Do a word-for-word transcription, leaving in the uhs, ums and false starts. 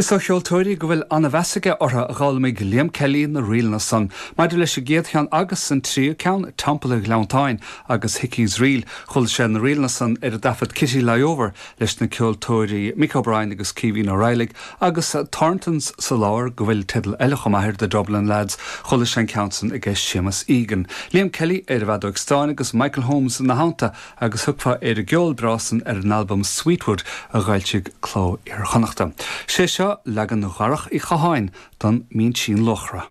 Is ó cheoltóirí go bhfuil an-mheas aige orthu a d'fhoghlaimigh Liam Kelly na ríleanna san, maidir leis an gcéad cheann agus an tríú ceann Teampall an Ghleanntáin agus Hickey's Reel chuala sé na ríleanna san ar an dtaifead Kitty Lie Over leis na ceoltóirí Mick O'Brien agus Caoimhín Ó Raghallaigh agus Thorntons sa lár go bhfuil teideal eile chomh maith The Dublin Lads chuala sé an ceann san ag Séamus Egan. Liam Kelly ar an bhfeadóg stáin agus Michael Holmes ina theannta agus thiocfá ar an gceol breá san ar an albam Sweetwood a d'fhoilsigh Cló Iar-Chonnachta. Sé seo leagan Dharach Uí Chatháin don Mhinsean Luachra.